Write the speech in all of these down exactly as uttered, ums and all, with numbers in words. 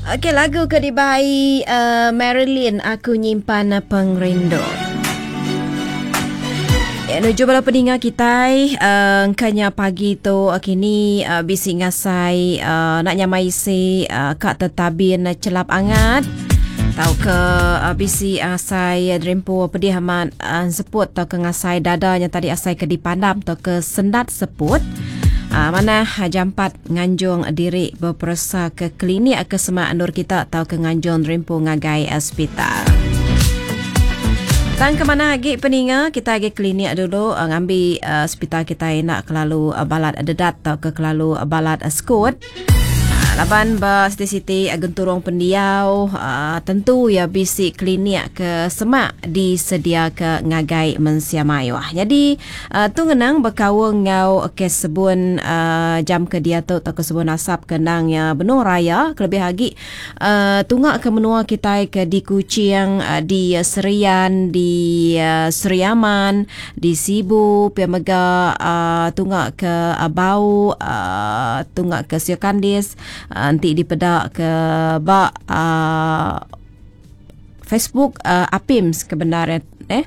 Okey, lagu ke dibai uh, Marilyn, Aku Nyimpan Pengerindu. Ya, nuju bala peninga kitai uh, engkanya pagi tu uh, kini uh, bisi ngasai uh, nak nyamai isi uh, kak tetabin celap angat tau ke uh, bisi asai uh, derimpu pedih amat uh, seput tau ke ngasai dadanya tadi asai ke dipandam tau ke sendat seput. Uh, mana jampat nganjung diri beperesa ke klinik ke semak endur kita atau ke nganjung derimpu ngagai hospital. Tang ke mana agi peninga kita agi klinik dulu uh, ngambi uh, hospital kita nak kelalu uh, balat dedat atau ke kelalu uh, balat uh, sekut. Laban ba siti-siti genturung pendiau uh, tentu ya bisi klinik ke semak disedia ke ngagai mensia mayuh. Jadi uh, tu ngenang berkaul ngau kes sebun uh, jam ke dia tu atau ke sebun asap kenang ya benung raya kelebih lagi uh, tunggak ke menua kita ke di Kuching, uh, di Serian, di uh, Seriaman, di Sibu, pia mega uh, tunggak ke uh, Bau, uh, tunggak ke Siokandis, nanti dipedak ke ba uh, Facebook uh, Apims kebenaran eh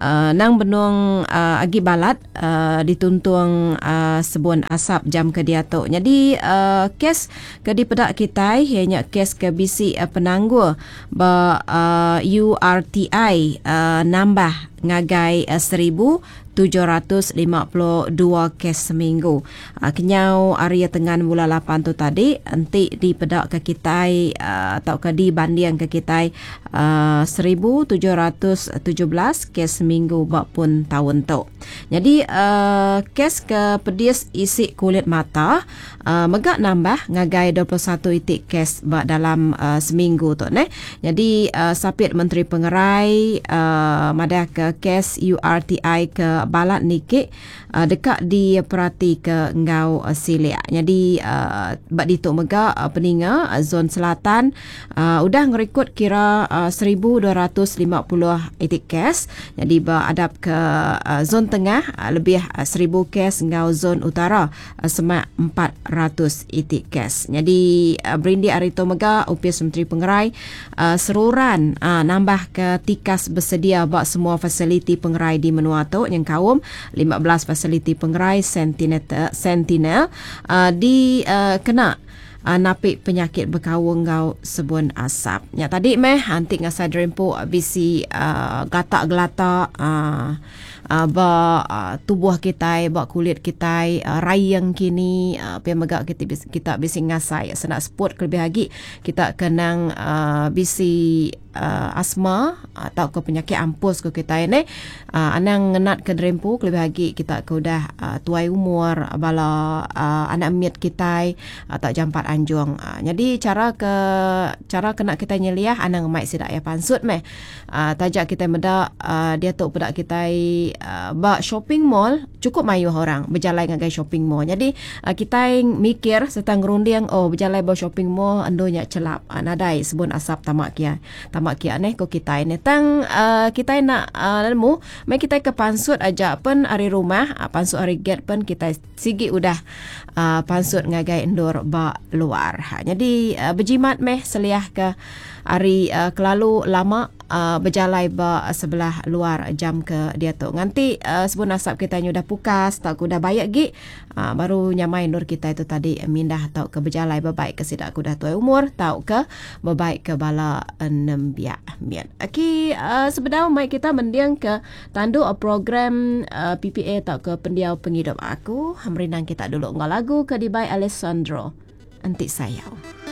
uh, nang benung uh, agi balat uh, dituntung uh, sebun asap jam ke dia tu. Jadi uh, kes ke dipedak kita ianya kes ke bisi uh, penanggul ba uh, U R T I uh, nambah ngagai uh, seribu tujuh ratus lima puluh dua kes seminggu. Uh, kenyau area tengan bulan lapan tu tadi enti dipedak ke kitai uh, atau ke dibanding ke kitai uh, seribu tujuh ratus tujuh belas kes seminggu bak pun tahun tu. Jadi uh, kes ke pedis isi kulit mata uh, megak nambah ngagai dua puluh satu itik kes bak dalam uh, seminggu tu ne. Jadi uh, Sapit Menteri Pengerai uh, madah ke kes U R T I ke balat niki uh, dekat diperhati ke ngau uh, silia. Jadi uh, bak ditu mega uh, peninga uh, zon selatan uh, udah ngerekod kira uh, seribu dua ratus lima puluh itik kes. Jadi beradap ke uh, zon tengah uh, lebih uh, seribu kes ngau zon utara uh, semak empat ratus itik kes. Jadi uh, berindi hari tu mega Upis Menteri Pengerai uh, seruran uh, nambah ke tikas bersedia bak semua fasiliti pengerai di menua tu yang kaum lima belas fasiliti pengerai Sentinel, Sentinel uh, di uh, kena uh, napik penyakit berkawung ngau sebun asap. Ya tadi meh antik ngasai derempu bisi uh, gatak gelatak uh, uh, ba uh, tubuh kita, ba kulit kita, uh, rayang kini uh, pia megak kita kita bisi ngasai senak sport kelebih lagi kita kenang uh, bisi Uh, asma atau ke penyakit ampus ke kita ni uh, anang ngenat ke derempu kelebih lagi kita ke udah uh, tuai umur bala uh, anak miat kita atau uh, jampat anjung. Uh, jadi cara ke cara kena kita nyeliah anang mai sidak ya pansut meh. Uh, tajak kita medak uh, dia tu pedak kita uh, ba shopping mall cukup mayuh orang berjalan ngagai shopping mall. Jadi uh, kita mikir serta ngerunding oh berjalan ba shopping mall endonya celap uh, nadai sebun asap tamak kia. Tamak kia neh ko kita ni tang uh, kita nak uh, nemu mai kita ke pansut aja pen ari rumah uh, pansut ari gate pen kita sigi udah uh, pansut ngagai endur ba luar. Ha, jadi uh, berjimat meh seliah ke ari uh, kelalu lama uh, berjalai ba sebelah luar jam ke dia tu. Nganti uh, sebun asap kita ni udah pukas tak udah bayak gi uh, baru nyamai nur kita itu tadi mindah atau ke berjalai berbaik ke sidak udah tuai umur tau ke berbaik ke bala nembiak mian. Okey uh, sebenarnya mai kita mendiang ke tanduk program uh, P P A atau ke pendiau penghidup aku. Hamrinang kita dulu ngau lagu ke dibai Alessandro Entik Sayau.